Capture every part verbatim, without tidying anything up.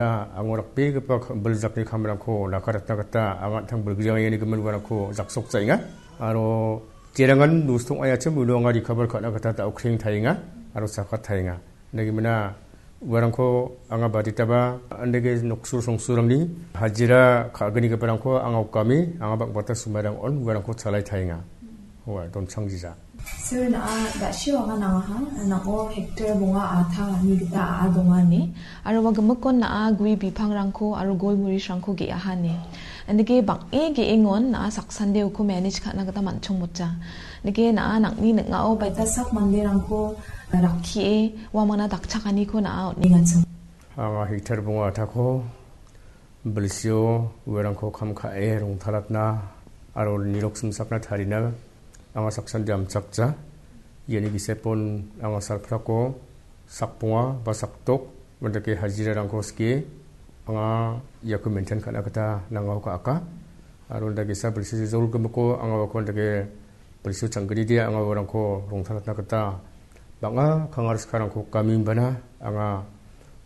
Ango rakbegipa ka-, biljakni kamrangko nakaratna gita anga an·tang bilgriangengimin uarangko jaksokjaenga. Aro jerangan nustong ayachim uno anga recover ka·na gita daokreng taenga aro sakat taenga. Nagimina uarangko anga baditaba andege noksur songsurangni hajira ka·gnigiparangko anga okame, anga bang·bata sumairang on uarangko chalai taenga. Ua donchang jija. Sir, na·a da·sio anga nangaha, nang·o hektar bonga a·ta ni gita a·a donga ine. Aro ua gimikon na·a gue bipangrangko aro golmurisrangko ge·aha ine. Indike bang·e ge·engon na·a saksande uko manage ka·na gita man·chongmota. Indike na·a nang·ni ning·ao baita sak manderangko rakkie uamangna dakchakaniko na·a on·engacha. Anga hektar bonga a·tako bilsio uarangko kam ka·e rongtalatna aro nirok simsakna tarina anga saksande amchakja. Iani gisepon anga salprako sakbonga ba sakdok, mandake hajirarangko skie anga iako maintain ka·na gita nangao ka·aka. Aro indakesa bilsi jolgimiko anga uako indake bilsio changgride anga uarangko rongtalatna gita bang·a kangar sikarangko gaminbana anga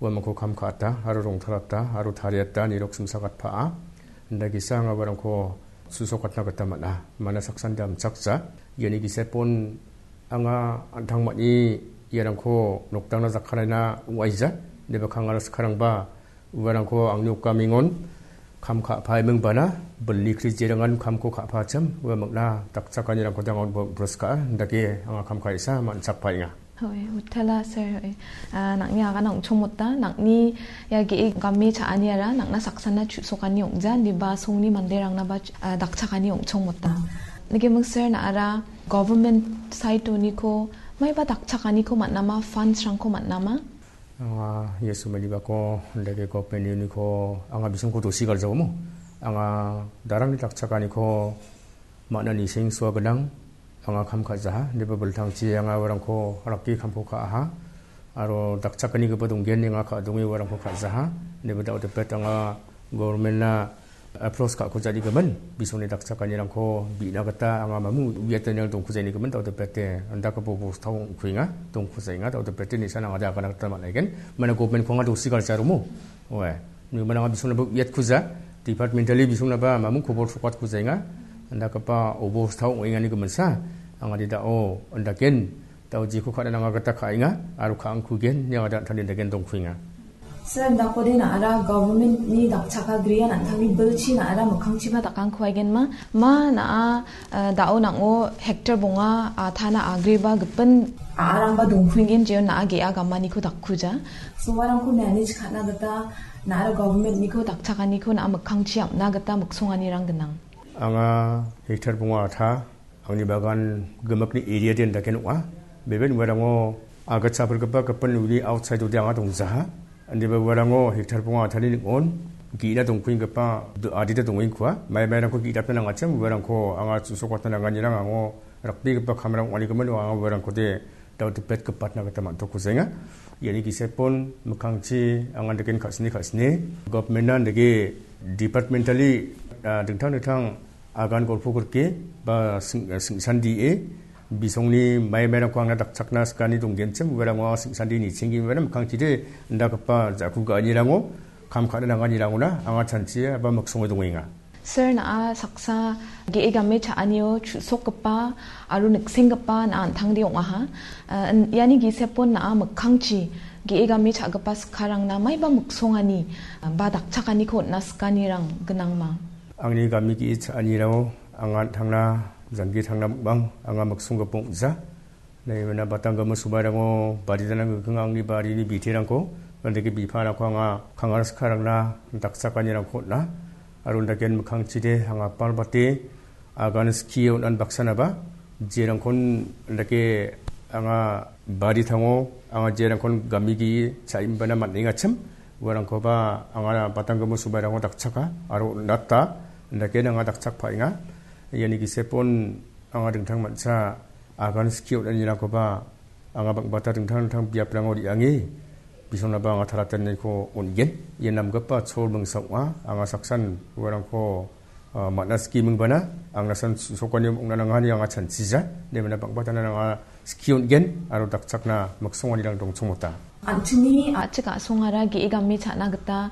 uamangko kam ka·ata aro rongtalata aro tariata nirok simsagatpaa. Indakesa anga uarangko susokatna gita man·a. Mana saksande amchakja. Iani gisepon anga an·tangmani iarangko nokdangna jakkaraina ong·aija. Ineba kangar sikarangba uarangko angni okamengon kam ka·paiming bana, bilni krijerangan kamko ka·pachim, ua mangna dakchakanirangko dangon bo-, broska, indake anga kam ka·isa man·chakpaenga. Hoi, utala sir, hoi. Ah, nang·ni agana ong·chongmota, nang·ni ia ge·e game cha·aniara, nang·na saksana chu·sokani ong·ja, indiba songni manderangnaba, ah, dakchakani ong·chongmota. Nike mung sir na·ara government side oniko, maiba dakchakaniko man·ama, funds-rangko man·ama? Anga Jesu manibako indake government uniko anga bisingko dosi galjaomo. Anga darangni dakchakaniko man·a niseng sua gnang. Anga kam ka·jaha, indiba biltangchi anga uarangko rakki kamko ka·aha. Aro dakchakanigipa donggen anga ka·donge uarangko ka·jaha. Indiba dao depet anga government-na approach ka·kujanigimin, bisongni dakchakanirangko bi·na gita anga mamung uiatanirang dongkujanigimin, dao depete, indakgipa bostao ong·kuenga, dongkujaenga, dao depete nisan anga agana gita man·aigen. Mana government-ko anga dosi galjaromo. Oe, nima anga bisongnaba uiatkuja, departmentally bisongnaba mamung kobor sokatkujaenga, indakgipa obostao ong·enganigiminsa, anga didao, indaken, dao jeko ka·na nanga gita ka·enga, aro ka·angkugen, nia gita an·tangni degen dongkuenga. Sir, indakode na·ara government-ni dakchakagrian an·tangni bilchi na·ara mikkangchiba dakangkuaigenma, ma na·a, eh, dao nang·o hektar bonga, ah, tana agreba gipin a·arangba dongkuengen jeon na·a ge·a gamaniko dakkuja. Soarangko manage ka·na gita na·ara government-niko dakchakaniko na·a mikkangchi am·na gita miksonganirang gnang. Anga hektar bonga a·ta, angni bagan gimikni area den daken ong·a. Beben uarango agatsa apilgipa gipin uni outside-ode anga dongjaha. Indiba uarango hektar bonga a·tani ning·on ge·ina dongkuenggipa do-, adita dongengkua. Mai mairangko ge·datna nangachim uarangko anga chu·sokatna nanganirang ango rakbegipa kamrang ong·anigimin anga uarangkode dao dipet gipatna gita man·tokkujaenga. Iani gisepon mikkangchi anga daken ka·sine ka·sine government-na dake departmentally, ah, dingtang dingtang agan golpo grike ba sing-, sing·sandie bisongni mai mairangko angna dakchakna sikani donggenchim uarango anga sing·sandi nichenggimin mikkangchide indakgipa ja·ku ga·anirango kam ka·na nanganirangona anga chanchia ba miksonge dongenga. Sir, na·a saksa ge·e game cha·anio chu·sokgipa aro niksenggipa na·a an·tangde ong·aha. Ah, in-, iani gisepon na·a mikkangchi ge·e game cha·gipa sikarangna maiba miksongani, ah, ba dakchakaniko on·na sikanirang gnangma? Angni game ge·e cha·anirao anga an·tangna janggi tangna ming·bang anga miksonggipa ong·ja. Nai mena batang gama subarango bari danang gikeng angni barini biterangko, andake biparangko anga kangar sikarangna dakchakanirangko on·a. Aro andaken mikkangchide anga apalbate agan skie on·an baksanaba, jerangkon andake anga bari tango, anga jerangkon gamigi cha·imbana man·engachim, uarangkoba anga batang gama subarango dakchaka, aro on·ata, andaken anga dakchakpaenga. Iani gisepon anga dingtang mancha agan skie on·anirangkoba anga bang·bata dingtang dingtang biaprango re·ange, bisongnaba anga talatenaniko on·gen. Ia namgipa chol mingsa ong·a, anga saksan uarangko, ah, man·a skie mingbana, angnasan sokani ong·na nangani anga chanchija, nemena bang·batana anga skie on·gen, aro dakchakna miksonganirang dongchongmota. An·chingni a·chik a·songara ge·e game cha·na gita